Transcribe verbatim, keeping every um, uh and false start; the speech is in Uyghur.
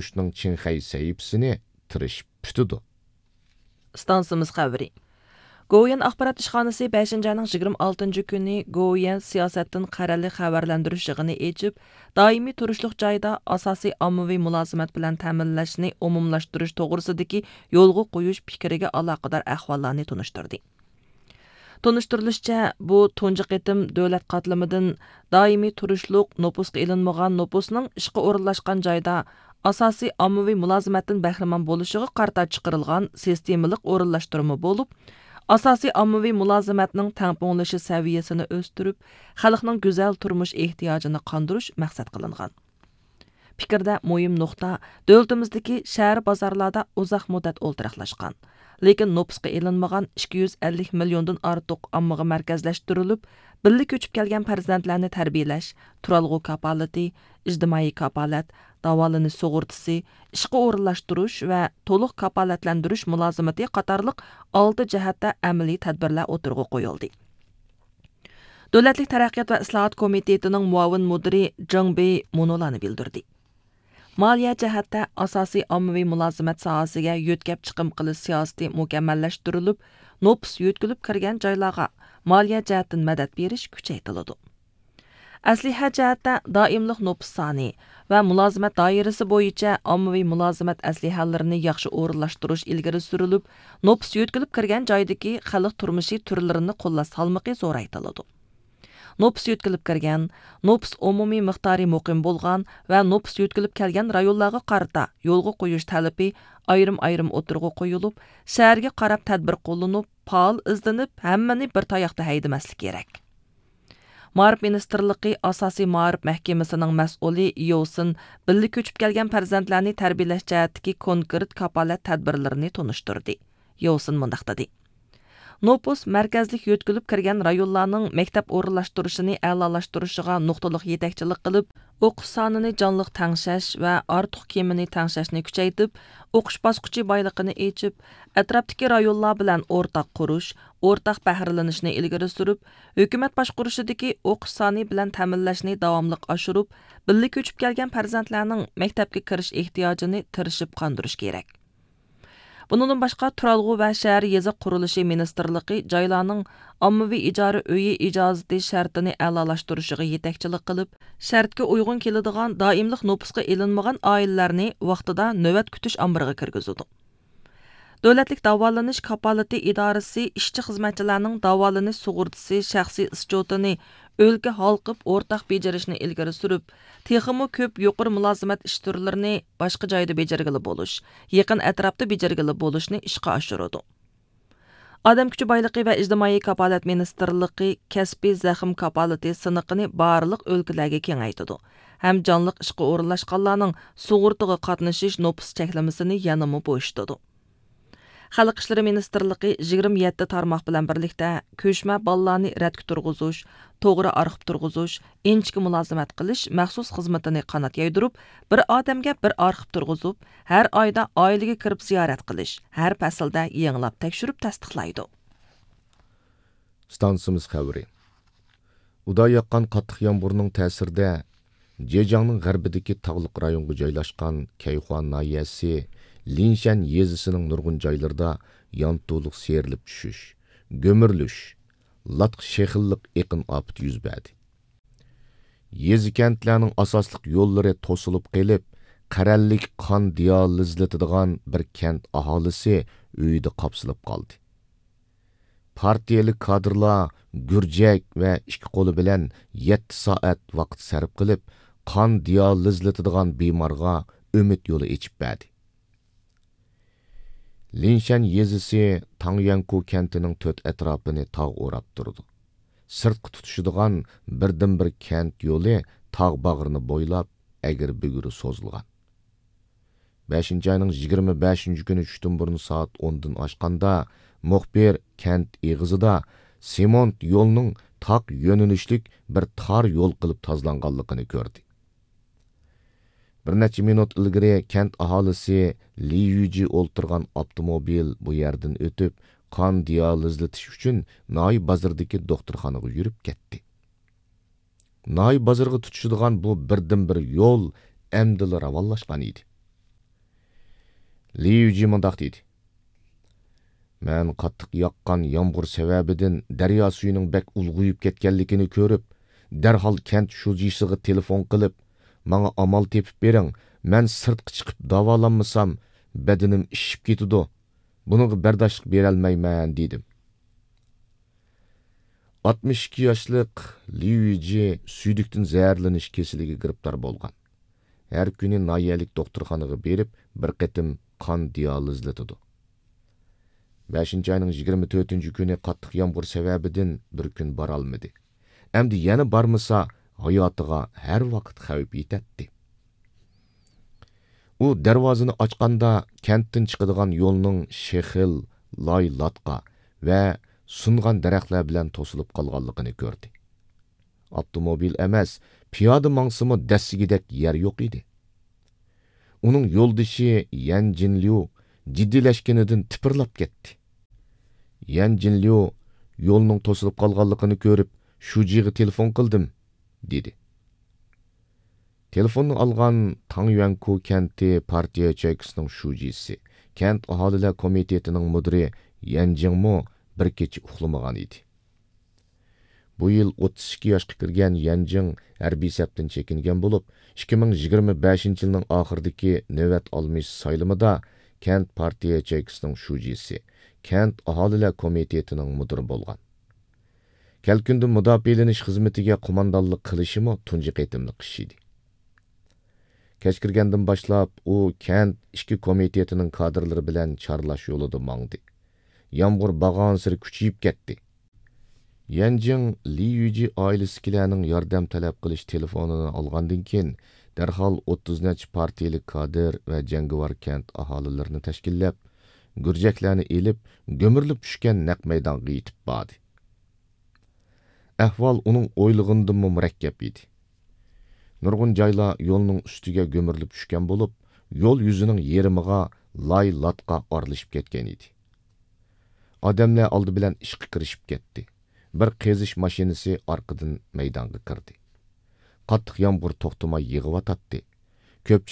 ئۇچۇشنىڭ چىڭخەي سەھىپىسىنى تىرىشىپ پۈتىدۇ. ئىستانسىمىز خەۋىرى. گوۋۇيۈەن ئاخبارات ئىشخانىسى بەشىنچى ئاينىڭ يىگىرمە ئالتىنچى كۈنى گوۋۇيۈەن سىياسەتتىن قەرەللىك خەۋەرلەندۈرۈش يىغىنى ئېچىپ، دائىمىي تۇرۇشلۇق جايدا ئاساسىي ئاممىۋى مۇلازىمەت بىلەن تەمىنلەشنى ئومۇملاشتۇرۇش توغرىسىدىكى يولغا قويۇش پىكرىگە ئالاقىدار ئەھۋاللارنى تونۇشتۇردى. تونۇشتۇرۇلۇشىچە، بۇ تۇنجى قېتىم دۆلەت قاتلىمىدىن دائىمىي تۇرۇشلۇق نوپۇسقا ئېلىنمىغان نوپۇسنىڭ ئىشقا ئورۇنلاشقان جايدا ئاساسىي ئاممىۋى مۇلازىمەتتىن بەھرىمەن بولۇشىغا قارىتا چىقىرىلغان سىستېمىلىق ئورۇنلاشتۇرما بولۇپ، ئاساسىي ئاممىۋى مۇلازىمەتنىڭ تەڭپۇڭلىشىش سەۋىيەسىنى ئۆستۈرۈپ، خەلقنىڭ گۈزەل تۇرمۇش ئېھتىياجىنى قاندۇرۇش مەقسەت قىلىنغان. پىكىردە مۇھىم نۇقتا، دۆلىتىمىزدىكى شەھەر بازارلاردا ئۇزاق مۇددەت ئولتۇراقلاشقان، لېكىن نوپۇسقا ئېلىنمىغان ئىككى يۈز ئەللىك مىليوندىن ئارتۇق ئاممىغا مەركەزلەشتۈرۈلۈپ، بىللە كۆچۈپ كەلگەن پەرزەنتلەرنى تەربىيەلەش، تۇرالغۇ كاپالىتى، ئىجتىمائىي كاپالەت، داۋالىنىش سۇغۇرتىسى، ئىشقا ئورۇنلاشتۇرۇش ۋە تولۇق كاپالەتلەندۈرۈش مۇلازىمىتى قاتارلىق ئالتە جەھەتتە ئەمەلىي تەدبىرلەر ئوتتۇرىغا قويۇلدى. دۆلەتلىك تەرەققىيات ۋە ئىسلاھات كومىتېتىنىڭ مۇئاۋىن مۇدىرى جېڭ بېي مۇنۇلارنى بىلدۈردى. مالىيە جەھەتتە ئاساسىي ئاممىۋى مۇلازىمەت ساھەسىگە يۆتكەپ چىقىم قىلىش سىياسىتى مۇكەممەللەشتۈرۈلۈپ، نوپۇس يۆتكىلىپ كىرگەن جايلارغا مالىيە جەھەتتىن مەدەت بېرىش كۈچەيتىلىدۇ. ئەسلىھە جەھەتتە دائىملىق نوپۇس سانى ۋە مۇلازىمەت دائىرىسى بويىچە ئاممىۋى مۇلازىمەت ئەسلىھەلىرىنى ياخشى ئورۇنلاشتۇرۇش ئىلگىرى سۈرۈلۈپ، نوپۇس يۆتكىلىپ كىرگەن جايدىكى خەلق تۇرمۇشى تۈرلىرىنى قوللاش سالمىقى زورايتىلىدۇ. نوپۇس يۆتكىلىپ كىرگەن، نوپۇس ئومۇمىي مىقدارى مۇقىم بولغان ۋە نوپۇس يۆتكىلىپ كەلگەن رايونلارغا قارىتا يولغا قويۇش تەلىپى ئايرىم-ئايرىم ئوتتۇرىغا قويۇلۇپ، شەھەرگە قاراپ تەدبىر قوللىنىپ، پائال ئىزدىنىپ، ھەممىنى بىر تاياقتا ھەيدىمەسلىك كېرەك. مائارىپ مىنىستىرلىقى ئاساسىي مائارىپ مەھكىمىسىنىڭ مەسئۇلى يوسىن بىللە كۆچۈپ كەلگەن پەرزەنتلەرنى تەربىيەلەش جەھەتتىكى كونكرېت كاپالەت تەدبىرلىرىنى تونۇشتۇردى. يوسىن مۇنداق دېدى: نوپۇس مەركەزلىك يۆتكىلىپ كىرگەن رايونلارنىڭ مەكتەپ ئورۇنلاشتۇرۇشىنى ئەلالاشتۇرۇشىغا نۇقتىلىق يېتەكچىلىك قىلىپ، ئوقۇش سانىنى جانلىق تەڭشەش ۋە ئارتۇق كېمىنى تەڭشەشنى كۈچەيتىپ، ئوقۇش باسقۇچى بايلىقىنى ئېچىپ، ئەتراپتىكى رايونلار بىلەن ئورتاق قۇرۇش، ئورتاق بەھرىلىنىشنى ئىلگىرى سۈرۈپ، ھۆكۈمەت باشقۇرۇشىدىكى ئوقۇش سانى بىلەن تەمىنلەشنى داۋاملىق ئاشۇرۇپ، بىللە كۆچۈپ كەلگەن پەرزەنتلەرنىڭ مەكتەپكە كىرىش ئېھتىياجىنى تىرىشىپ قاندۇرۇش كېرەك. بۇنىڭدىن باشقا، تۇرالغۇ ۋە شەھەر يېزا قۇرۇلۇشى مىنىستىرلىقى جايلارنىڭ ئاممىۋى ئىجارە ئۆيى ئىجازىتى شەرتىنى ئەلالاشتۇرۇشىغا يېتەكچىلىك قىلىپ، شەرتكە ئۇيغۇن كېلىدىغان دائىملىق نوپۇسقا ئېلىنمىغان ئائىلىلەرنى ۋاقتىدا نۆۋەت كۈتۈش ئامبىرىغا كىرگۈزىدۇ. دۆلەتلىك داۋالىنىش كاپالىتى ئىدارىسى ئىشچى-خىزمەتچىلەرنىڭ داۋالىنىش سۇغۇرتىسى شەخسىي ئىسچوتىنى ئۆلكە ھالقىپ ئورتاق بېجىرىشنى ئىلگىرى سۈرۈپ، تېخىمۇ كۆپ يۇقىرى مۇلازىمەت ئىش تۈرلىرىنى باشقا جايدا بېجىرگىلى بولۇش، يېقىن ئەتراپتا بېجىرگىلى بولۇشنى ئىشقا ئاشۇرىدۇ. ئادەم كۈچى بايلىقى ۋە ئىجتىمائىي كاپالەت مىنىستىرلىقى كەسپىي زەخىم كاپالىتى سىنىقىنى بارلىق ئۆلكىلەرگە كېڭەيتىدۇ ھەم جانلىق ئىشقا ئورۇنلاشقانلارنىڭ سۇغۇرتىغا قاتنىشىش نوپۇس چەكلىمىسىنى يەنىمۇ بوشىتىدۇ. خەلق ئىشلىرى مىنىستىرلىقى يىگىرمە يەتتە تارماق بىلەن بىرلىكتە كۆچمە بالىلارنى رەتكە تۇرغۇزۇش، توغرا ئارخىپ تۇرغۇزۇش، ئىنچىكە مۇلازىمەت قىلىش مەخسۇس خىزمىتىنى قانات يايدۇرۇپ، بىر ئادەمگە بىر ئارخىپ تۇرغۇزۇپ، ھەر ئايدا ئائىلىگە كىرىپ زىيارەت قىلىش، ھەر پەسىلدە يېڭىلاپ تەكشۈرۈپ تەستىقلايدۇ. ئىستانسىمىز خەۋىرى. ئۇدا ياغقان قاتتىق يامغۇرنىڭ تەسىرىدە، جېجياڭنىڭ غەربىدىكى تاغلىق رايونغا جايلاشقان كەيخۇا ناھىيەسى لىنشەن يېزىسىنىڭ نۇرغۇن جايلىرىدا يانتۇلۇق سىيرىلىپ چۈشۈش، گۈمۈرۈلۈش، لاتقا شېخىللىق ئېقىن ئاپىتى يۈز بەردى. يېزا-كەنتلەرنىڭ ئاساسلىق يوللىرى توسۇلۇپ قېلىپ، قەرەللىك قان دىيالىزلىتىدىغان بىر كەنت ئاھالىسى ئۆيىدە قاپسىلىپ قالدى. پارتىيەلىك كادىرلار گۈرجەك ۋە ئىككى قولى بىلەن يەتتە سائەت ۋاقىت سەرپ قىلىپ، قان دىيالىزلىتىدىغان بىمارغا ئۈمىد يولى ئېچىپ بەردى. لىنشەن يېزىسى تاڭيەنكۇ كەنتىنىڭ تۆت ئەتراپىنى تاغ ئوراپ تۇرىدۇ. سىرتقا تۇتىشىدىغان بىردىنبىر كەنت يولى تاغ باغرىنى بويلاپ ئەگرى-بۈگرى سوزۇلغان. بەشىنچى ئاينىڭ يىگىرمە بەشىنچى كۈنى چۈشتىن بۇرۇن سائەت ئوندىن ئاشقاندا، مۇخبىر كەنت ئېغىزىدا سېمونت يولنىڭ تاق يۆنىلىشلىك بىر تار يول قىلىپ تازىلانغانلىقىنى كۆردى. بىر نەچچە مىنۇت ئىلگىرى كەنت ئاھالىسى لى يۈجى ئولتۇرغان ئاپتوموبىل بۇ يەردىن ئۆتۈپ، قان دىيالىزلىتىش ئۈچۈن ناھىيە بازىرىدىكى دوختۇرخانىغا يۈرۈپ كەتتى. ناھىيە بازىرىغا تۇتىشىدىغان بۇ بىردىنبىر يول ئەمدىلا راۋانلاشقان ئىدى. لى يۈجى مۇنداق دېدى: مەن قاتتىق ياغقان يامغۇر سەۋەبىدىن دەريا سۈيىنىڭ بەك ئۇلغىيىپ كەتكەنلىكىنى كۆرۈپ، دەرھال كەنت شۇجىسىغا تېلېفون قىلىپ، ماڭا ئامال تېپىپ بېرىڭ، مەن سىرتقا چىقىپ داۋالانمىسام، بەدىنىم ئىششىپ كېتىدۇ، بۇنىڭغا بەرداشلىق بېرەلمەيمەن، دېدىم. ئاتمىش ئىككى ياشلىق لى يۈجى سۈيدۈكتىن زەھەرلىنىش كېسىلىگە گىرىپتار بولغان. ھەر كۈنى ناھىيەلىك دوختۇرخانىغا بېرىپ، بىر قېتىم قان دىئالىزلىتىدۇ. بەشىنچى ئاينىڭ يىگىرمە تۆتىنچى كۈنى قاتتىق يامغۇر سەۋەبىدىن بىر كۈن بارالمىدى. ئەمدى يەنە بارمىسا، ھاياتىغا ھەر ۋاقىت خەۋپ يېتەتتى. ئۇ دەرۋازىنى ئاچقاندا، كەنتتىن چىقىدىغان يولنىڭ شېخىل، لاي لاتقا ۋە سۇنغان دەرەخلەر بىلەن توسۇلۇپ قالغانلىقىنى كۆردى. ئاپتوموبىل ئەمەس، پىيادە ماڭسىمۇ دەسسىگۈدەك يەر يوق ئىدى. ئۇنىڭ يولدىشى يەن جىنليۇ جىددىيلەشكىنىدىن تىپىرلاپ كەتتى. يەن جىنليۇ يولنىڭ توسۇلۇپ قالغانلىقىنى كۆرۈپ، شۇجىغا تېلېفون قىلدىم، دېدى. تېلېفوننى ئالغان تاڭ يۈەنكۇ كەنتى پارتىيە ياچېيكىسىنىڭ شۇجىسى، كەنت ئاھالىلەر كومىتېتىنىڭ مۇدىرى يەن جىڭمۇ بىر كېچە ئۇخلىمىغان ئىدى. بۇ يىل ئوتتۇز ئىككى ياشقا كىرگەن يەن جىڭ ھەربىي سەپتىن چېكىنگەن بولۇپ، ئىككى مىڭ يىگىرمە بەشىنچى يىلنىڭ ئاخىرىدىكى نۆۋەت ئالمىشىش سايلىمىدا كەنت پارتىيە ياچېيكىسىنىڭ شۇجىسى، كەنت ئاھالىلەر كومىتېتىنىڭ مۇدىرى بولغان. كەلكۈندىن مۇداپىئەلىنىش خىزمىتىگە قوماندانلىق قىلىشىمۇ تۇنجى قېتىملىق ئىش ئىدى. كەچ كىرگەندىن باشلاپ، ئۇ كەنت ئىچكى كومىتېتىنىڭ كادىرلىرى بىلەن چارلاش يولىدا ماڭدى. يامغۇر بارغانسېرى كۈچىيىپ كەتتى. يەنجىڭ لى يۈجى ئائىلىسىدىكىلەرنىڭ ياردەم تەلەپ قىلىش تېلېفونىنى ئالغاندىن كېيىن، دەرھال ئوتتۇز نەچچە پارتىيىلىك كادىر ۋە جەڭگىۋار كەنت ئاھالىلىرىنى تەشكىللەپ، گۈرجەكلەرنى ئېلىپ، گۈمۈرۈلۈپ چۈشكەن نەق مەيدانغا يېتىپ باردى. ئەھۋال ئۇنىڭ ئويلىغىنىدىنمۇ مۇرەككەپ ئىدى. نۇرغۇن جايلار يولنىڭ ئۈستىگە گۈمۈرۈلۈپ چۈشكەن بولۇپ، يول يۈزىنىڭ يېرىمىغا لاي لاتقا ئارىلىشىپ كەتكەن ئىدى. ئادەملەر ئالدى بىلەن ئىشقا كىرىشىپ كەتتى. بىر قېزىش ماشىنىسى ئارقىدىن مەيدانغا كىردى. قاتتىق يامغۇر توختىماي يېغىۋاتاتتى. كۆپچىلىك